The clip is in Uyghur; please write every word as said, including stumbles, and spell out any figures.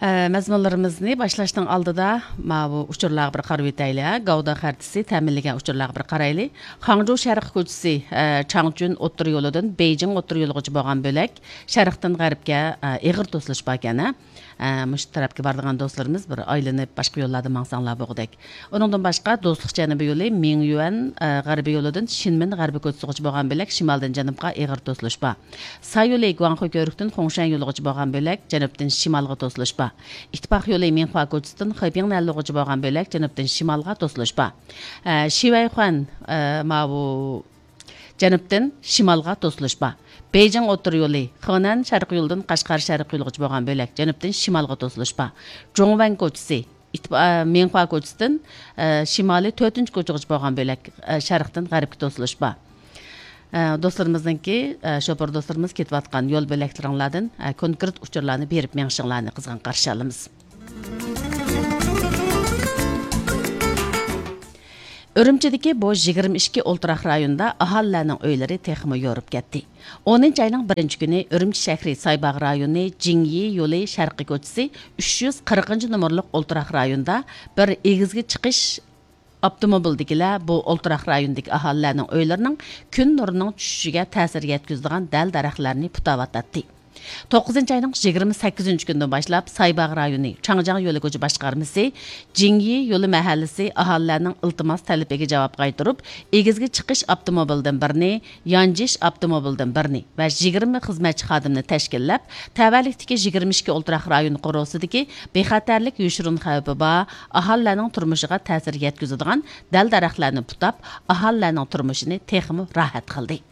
ئە، مەزمۇنلىرىمىزنى باشلاشنىڭ ئالدىدا ماۋۇ ئۇچۇرلارغا بىر قارىۋېتەيلى، ھە. گاۋدا خەرىتىسى تەمىنلىگەن ئۇچۇرلارغا بىر قارايلى. خاڭجۇ شەرقىي كوچىسى، ئە، چاڭچۈن ئوتتۇرا يولىدىن بېيجىڭ ئوتتۇرا يولىغىچە بولغان بۆلەك شەرقتىن غەربكە، ئە، ئېغىر توسۇلۇش باركەن، ھە. ئە، مۇشۇ تەرەپكە بارىدىغان دوستلىرىمىز بىر ئايلىنىپ، باشقا يوللاردا ماڭساڭلار بولغۇدەك. ئۇنىڭدىن باشقا، دوستلۇق جەنۇبىي يولى مىڭيۈەن، ئە، غەربىي يولىدىن شىنمىن غەربىي كوچىسىغىچە بولغان بۆلەك شىمالدىن جەنۇبقا ئېغىر توسۇلۇش بار. ساي يولى گۇاڭخۇ كۆۋرۈكتىن خۇڭشەن يولىغىچە بولغان بۆلەك جەنۇبتىن شىمالغا توسۇلۇش بار. ئىتتىپاق يولى مىڭخۇا كوچىسىدىن خېبىڭ نەنلۇغىچە بولغان بۆلەك جەنۇبتىن شىمالغا توسۇلۇش بار. ئە، شىۋەيخۇەن، ئە، ماۋۇ جەنۇبتىن شىمالغا توسۇلۇش بار. بېيجىڭ ئوتتۇرا يولى، خېنەن شەرقىي يولىدىن قەشقەر شەرقىي يولىغىچە بولغان بۆلەك جەنۇبتىن شىمالغا توسۇلۇش بار. جۇڭۋەن كوچىسى، ئىتتىپا-، ئە، مىڭخۇا كوچىسىدىن، ئە، شىمالىي تۆتىنچى كوچىغىچە بولغان بۆلەك، ئە، شەرقتىن غەربكە توسۇلۇش بار. ئە، دوستلىرىمىزنىڭكى، ئە، شوپۇر دوستلىرىمىز كېتىۋاتقان يول بۆلەكلىرىڭلاردىن، ئە، كونكرېت ئۇچۇرلارنى بېرىپ مېڭىشىڭلارنى قىزغىن قارشى ئالىمىز. ئۈرۈمچىدىكى بۇ يىگىرمە ئىككى ئولتۇراق رايوندا ئاھالىلەرنىڭ ئۆيلىرى تېخىمۇ يورۇپ كەتتى. ئونىنچى ئاينىڭ بىرىنچى كۈنى ئۈرۈمچى شەھىرى سايباغ رايونى جىڭيى يولى شەرقىي كوچىسى ئۈچ يۈز قىرىقىنچى نومۇرلۇق ئولتۇراق رايوندا بىر ئېگىزگە چىقىش ئاپتوموبىلدىكىلەر بۇ ئولتۇراق رايوندىكى ئاھالىلەرنىڭ ئۆيلىرىنىڭ كۈن نۇرىنىڭ چۈشۈشىگە تەسىر يەتكۈزىدىغان دەل-دەرەخلەرنى پۇتاۋاتاتتى. توققۇزىنچى ئاينىڭ يىگىرمە سەككىزىنچى كۈنىدىن باشلاپ سايباغ رايونى چاڭجياڭ يولى كوچا باشقارمىسى جىڭيى يولى مەھەللىسى ئاھالىلەرنىڭ ئىلتىماس تەلىپىگە جاۋاب قايتۇرۇپ، ئېگىزگە چىقىش ئاپتوموبىلدىن بىرنى، يانجىش ئاپتوموبىلدىن بىرنى ۋە يىگىرمە خىزمەتچى خادىمنى تەشكىللەپ، تەۋەلىكتىكى يىگىرمە ئىككى ئولتۇراق رايون قورۇسىدىكى بىخەتەرلىك يوشۇرۇن خەۋپى بار ئاھالىلەرنىڭ تۇرمۇشىغا تەسىر يەتكۈزىدىغان دەل-دەرەخلەرنى پۇتاپ، ئاھالىلەرنىڭ تۇرمۇشىنى تېخىمۇ راھەت قىلدى.